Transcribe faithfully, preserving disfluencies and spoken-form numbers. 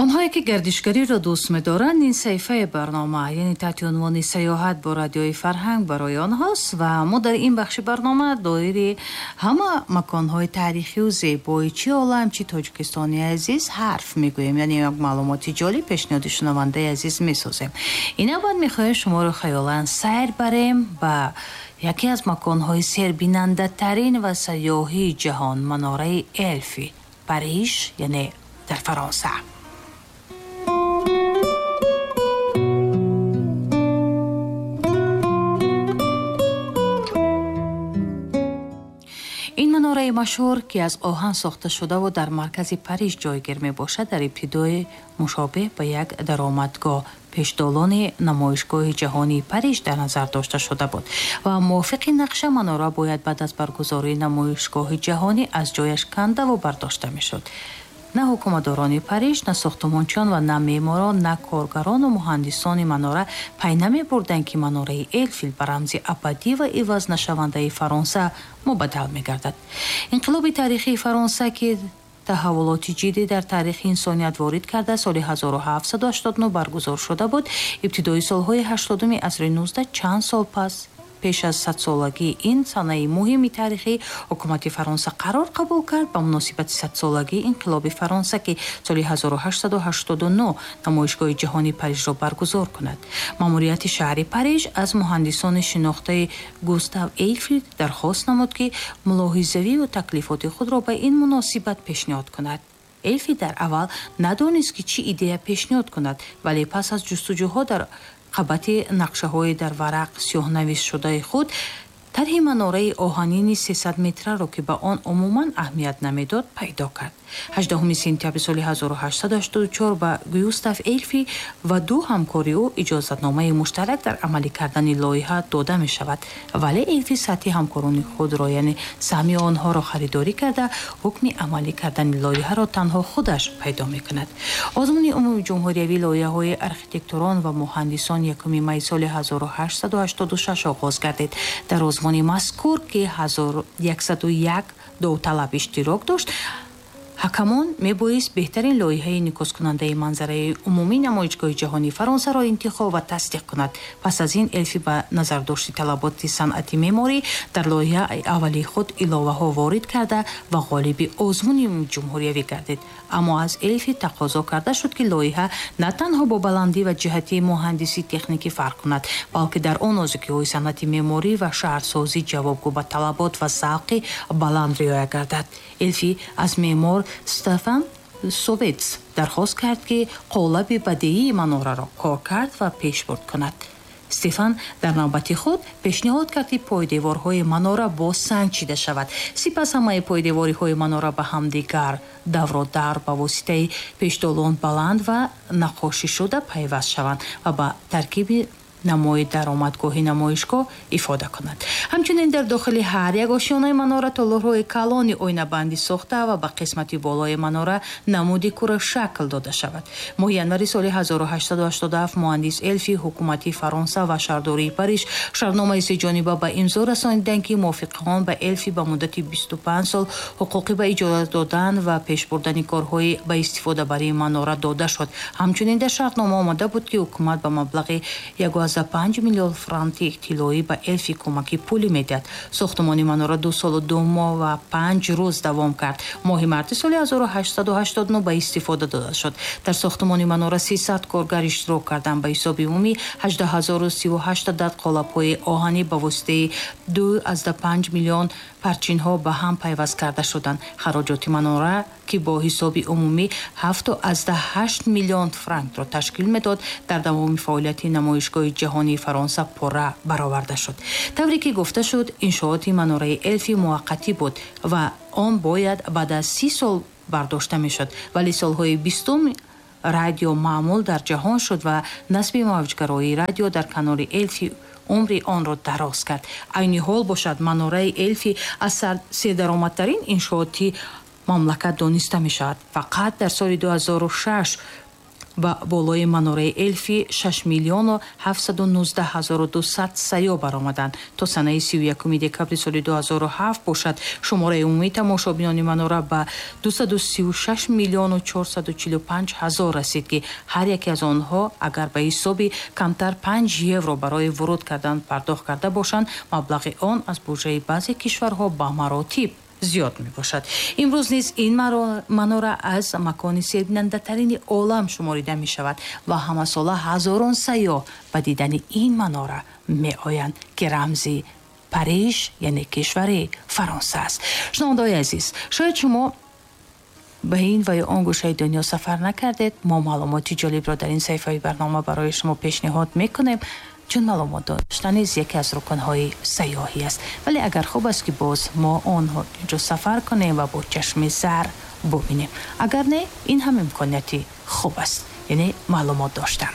Онҳое ки гардишгариро дӯст медоранд, ин саҳифаи барнома, яъне таҳти унвони сайёҳат бо радиои фарҳанг барои онҳост ва мо дар ин бахши барнома доири ҳама маконҳои таърихию зебои чи олам, чи Тоҷикистони азиз ҳарф мегӯем, яъне як маълумоти ҷолиб пешниҳоди шунавандаи азиз месозем. Ин навбат мехоҳем шуморо хаёлан сайр барем ба яке аз маконҳои сербинандатарин ва сайёҳии ҷаҳон, манораи Элфи, Париж, яъне дар Фаронса. Ин манораи машҳур, ки аз оҳан сохта шудаву дар маркази Париж ҷойгир мебошад, дар ибтидои мушобеҳ ба як даромадгоҳ пешдолони намоишгоҳи ҷаҳонии Париж дар назар дошта шуда буд ва мувофиқи нақша манора бояд баъд аз баргузории намоишгоҳи ҷаҳонӣ аз ҷояш кандаву бардошта мешуд. На ҳукуматдорони Париж, на сохтумончиён ва на меъморон, на коргарону муҳандисони манора пай намебурданд, ки манораи Элфил ба рамзи абадӣ ва ивазнашавандаи Фаронса мубаддал мегардад. Инқилоби таърихии Фаронса, ки таҳаввулоти ҷиддӣ дар таърихи инсоният ворид карда, соли ҳазору ҳафтсаду ҳаштоду нӯҳ баргузор шуда буд, ибтидои солҳои ҳаштодуми асри нуздаҳ, чанд сол пас пеш аз садсолагии ин санаи муҳими таърихӣ, ҳукумати Фаронса қарор қабул кард ба муносибати садсолагии инқилоби Фаронса, ки соли ҳазору ҳаштсаду ҳаштоду нӯҳ намоишгоҳи ҷаҳонии Парижро баргузор кунад. Маъмурияти шаҳри Париж аз муҳандисони шинохтаи Густав Эйфел дархост намуд, ки мулоҳизавию таклифоти худро ба ин муносибат пешниҳод кунад. Эйфел дар аввал надонист, ки чӣ идея пешниҳод кунад, вале пас аз ҷустуҷӯҳо дар қабати нақшаҳои дар варақ сиёҳнависшудаи худ тарҳи манораи оҳанини сесад метраро, ки ба он умуман аҳамият намедод, пайдо кард. ҳаждаҳуми сентябри соли ҳазору ҳаштсаду ҳаштоду чор ба Густав Эйфел ва ду ҳамкори ӯ иҷозатномаи муштарак дар амалӣ кардани лоиҳа дода мешавад, вале Эйфел сатҳи ҳамкорони худро, яъне саҳми онҳоро харидорӣ карда, ҳукми амалӣ кардани лоиҳаро танҳо худаш пайдо мекунад. Озмуни умумиҷумҳуриявии лоиҳаҳои архитекторон ва муҳандисон якуми майи соли ҳазору ҳаштсаду ҳаштоду шаш оғоз гардид. Дар озмуни мазкур, ки ҳазору яксаду як довталаб иштирок дошт, ҳакамон мебоист беҳтарин лоиҳаи инъикоскунандаи манзараи умумии намоишгоҳи ҷаҳонии Фаронсаро интихоб ва тасдиқ кунад. Пас аз ин Элфи ба назардошти талаботи санъати меъморӣ дар лоиҳаи аввалии худ иловаҳо ворид карда ва ғолиби озмуни ҷумҳуриявӣ гардид. Аммо аз Элфи тақозо карда шуд, ки лоиҳа на танҳо бо баландӣ ва ҷиҳати муҳандисӣ техникӣ фарқ кунад, балки дар он нозукиҳои санъати меъморӣ ва шаҳрсозӣ ҷавобгӯ ба талабот ва завқи баланд риоя гардад. Элфи аз меъмор Стефан Совец дархост кард, ки қолаби бадеии манораро кор кард ва пешбурд кунад. Стефан дар навбати худ пешниҳод кард, ки пойдеворҳои манора бо санг чида шавад. Сипас ҳамаи пойдевориҳои манора ба ҳамдигар давродар ба воситаи пешдолон баланд ва наққошишуда пайваст шаванд ва ба таркиби намои даромадгоҳи намоишгоҳ ифода кунад. Ҳамчунин дар дохили ҳар як ошёнаи манора толорҳои калони оинабандӣ сохта ва ба қисмати болои манора намуди курашакл дода шавад. Моҳи январи соли ҳазору ҳаштсаду ҳаштоду ҳафт муҳандис Элфи, ҳукумати Фаронса ва шаҳрдории Париж шартномаи сеҷониба ба имзо расониданд, ки мувофиқи он ба Элфи ба муддати бисту панҷ сол ҳуқуқи ба иҷоза додан ва пешбурдани корҳои ба истифодабарии манора дода шуд. Ҳамчунин дар шартнома омада буд, ки ҳукумат ба маблағи як панҷ миллион франки тиллоӣ ба Элфи кӯмаки пулӣ медиҳад. Сохтумони манора ду солу ду моҳ ва панҷ рӯз давом кард. Моҳи марти соли ҳазору ҳаштсаду ҳаштоду нӯҳ ба истифода дода шуд. Дар сохтумони манора сесад коргар иштирок карданд. Ба ҳисоби умумӣ ҳаждаҳ ҳазору сиву ҳашт адад қолабҳои оҳанӣ ба воситаи ду азда панҷ миллион парчинҳо ба ҳам пайваст карда шуданд. Хароҷоти манора, ки бо ҳисоби умумӣ ҳафту азда ҳашт миллион франкро ташкил медод, дар давоми фаъолияти намоишгоҳи ҷаҳонии Фаронса пурра бароварда шуд. Тавре ки гуфта шуд, иншооти манораи Элфи муваққатӣ буд ва он бояд баъд аз си сол бардошта мешуд, вале солҳои бистум радио маъмул дар ҷаҳон шуд ва насби мавҷгароии радио дар канори Элфи умри онро дароз кард. Айни ҳол бошад, манораи Элфи аз сердаромадтарин иншооти мамлакат дониста мешавад. Фақат дар соли ду ҳазору шаш Ба болои манораи Элфи шаш миллиону ҳафтсаду нуздаҳ ҳазору дусад сайёҳ баромаданд. То санаи сию якуми декабри соли ду ҳазору ҳафт бошад, шумораи умумии тамошобинони манора ба дусаду сию шаш миллиону чорсаду чилу панҷ ҳазор расид, ки ҳар яке аз онҳо агар ба ҳисоби камтар панҷ евро барои вуруд кардан пардохт карда бошанд, маблағи он аз буҷаи баъзе кишварҳо ба маротиб зиёд мебошад. Имрӯз низ ин манора аз макони сербинандатарини олам шуморида мешавад ва ҳамасола ҳазорон сайёҳ ба дидани ин манора меоянд, ки рамзи Париж, яъне кишвари Фаронса аст. Шунавандаои азиз, шояд шумо ба ин ва ё он гӯшаи дунё сафар накардед. Мо маълумоти ҷолибро дар ин саҳифаи барнома барои шумо пешниҳод мекунем, чун маълумот доштан низ яке аз рукнҳои сайёҳӣ аст. Вале агар хуб аст, ки боз мо онҳо ҷо сафар кунем ва бо чашми сар бубинем. Агар не, ин ҳам имконияти хуб аст, яъне маълумот доштан.